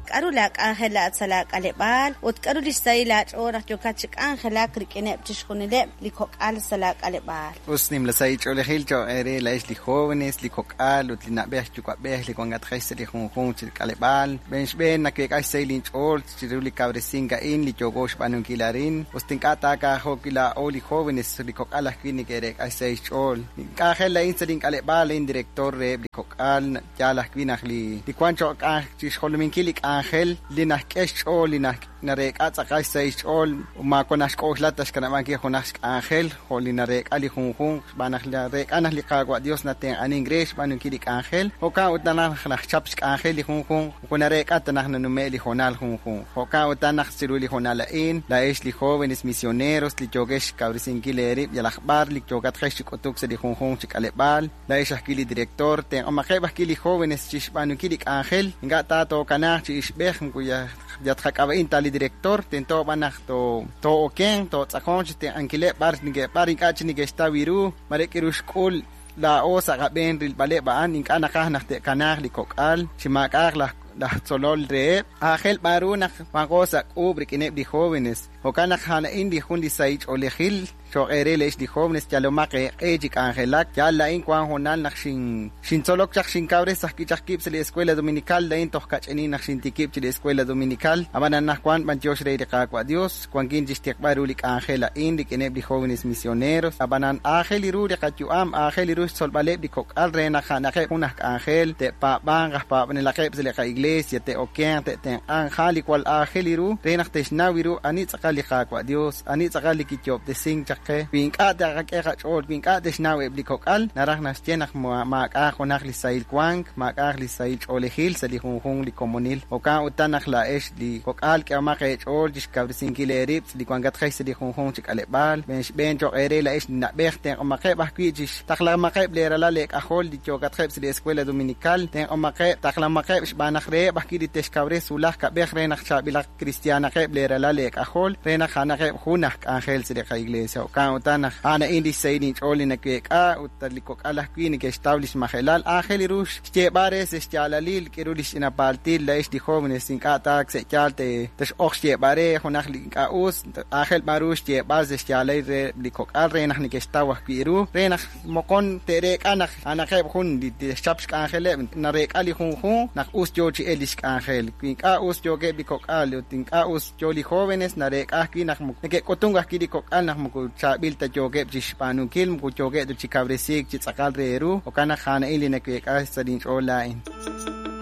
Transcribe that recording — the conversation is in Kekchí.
K'a'ru laa k'anjel laa'at sa' laa k'aleb'aal ut k'a'ru li xsahil aach'ool naq yookat chi k'anjelak rik'ineb' chixjunileb' li kok'al sa' laa k'aleb'aal? Us nimla sahil ch'oolejil cho'q eere laa'ex li jóvenes, li kok'al ut li na'b'ej yuwa'b'ej li wankatqex sa' li junjunq chi k'aleb'aal. Xb'een xb'een naweek'a xsahil inch'ool chiru li kawresink a'in li yooko xb'aanunkil arin, us ta ink'a' taakaajo' wi' laa'o li jóvenes, li kok'al ajwi' neke'reek'a xsahil xch'ool. Li k'anjel a'in sa' link'aleb'aal a'in director reheb' li kok'al, yaal ajwi' naq li li wank cho'q chi xjolominkil li k'anjel li naxk'e xch'ool li nareek'a tz'aqal xsahil xch'ool, maawa' naxk'oxla ta xkanab'ankil junaq xk'anjel jo' li nareek'a li junjunq, xb'aan naq nareek'a naq li Qaawa' Dios natenq'anink re xb'aanunkil li k'anjel, jo'kan ut naq naxchap xk'anjel li junjunq, moko nareek'a ta naq nanume' li hoonal junjunq. Jo'kan utan naq chiru li hoonal a'in, laa'ex li jóvenes misioneros li yookex xkawresinkil eerib' yalaq b'ar li yookatqex chi k'utuk sa' li junjunq chi k'aleb'aal, laa'ex ajwi' li director, tenq'omaqeb' ajwi' li jóvenes chi xb'aanunkil li k'anjel, ink'a' ta tookanaaq chi ixb'ej moko yatqak'ab'a'in ta li director, tento b'an naq too'okenq, tootz'aqonq chi tenq'ankileb' b'ar b'ar ink'a' chik neke'xtaw ru, mare k'aru xk'ul laa'o sa' qab'een rilb'aleb' a'an, ink'a' naqaj naq te'kanaaq li kok'al chi maak'a'aq laj laj tzolol reheb', aajel b'an ru naq wanqo sa' k'uub' rik'ineb' li jóvenes. Jo'kan naq a'an a'in li jun li sahil ch'oolejil cho'q eere laa'ex li jóvenes, yalomaq eeq'e chi k'anjelak. Yaal laa'in wank hoonal naq xintzolok chaq xinkawres ajwi' chaq wib' sa' li Escuela Dominical, laa'in toj kach'inin naq xintikib' chi li Escuela Dominical, ab'an anaqwan b'anyox re li Qaawa' Dios, wankin chi xtiqb'al ru li k'anjel a'in rik'ineb' li jóvenes misioneros. Ab'anan aajel ru li qayu'am, aajel ru xtzolb'aleb' li kok'al re naq a'anaqeb' jun aj k'anjel, te'paab'anq aj paab'anelaqeb' sa' li qa'iglesia, te'okenq, te'tenq'anq, a'an li jwal aajel ru re naq te'xnaw ru ani tz'aqal li Qaawa' Dios, ani tz'aqal li kiyoob'tesink chaq qe. Wi ink'a' taqak'e qach'ool, wi ink'a' te'xnaw eb' li kok'al, naraj naxye naq maak'a'aq junaq li sahil wank, maak'a'aq li sahil ch'oolejil sa' li junjunq li komonil. Jo'kan utan naq laa'ex li kok'al k'ehomaq eech'ool chi xkawresinkil eerib' li wankatqex sa' li junjunq chi k'aleb'aal. Xb'een xb'een cho'q eere laa'ex li na'b'ej, tenq'omaqeb' ajwi' chi xtaqlamaqeb' leeralal leek'ajol li yookatqeb' sa' li Escuela Dominical, tenq'omaqeb', taqlamaqeb' xb'aan naq reheb' ajwi' li te'xkawres wulaj kab'ej re naq chaab'ilaq kristiaanaqeb' leeralal leek'ajol re naq a'anaqeb' jun aj k'anjel sa' li qa'iglesia. Jo'kan utan naq a'an a'in li xsahil inch'ool li naweek'a ut li kok'al ajwi' neke'xtaw li xmajelal, aajel ru xyeeb'al re sa' xyaalalil k'aru li xch'ina paaltil laa'ex li jóvenes ink'a' ta sa' yaal tex'oq xyeeb'al re junaq li ink'a' us, aajel b'an ru xyeeb'al sa' xyaalalil re li kok'al re naq neke'xtaw ajwi' ru, re naq moqon te'reek'a naq a'anaqeb' jun li te'xchap xk'anjeleb', nareek'a li junjunq naq us yo chi elk li xk'anjel. Wi ink'a' us yookeb' li kok'al ut ink'a' us yo li jóvenes, nareek'a ajwi' naq neke'k'utunk ajwi' li kok'al naq moko chaab'il ta yookeb' chi xb'aanunkil, moko yookeb' ta chi kawresiik chi tz'aqal re ru, jo'kan naq a'an a'in li naweek'a sa' linch'ool laa'in.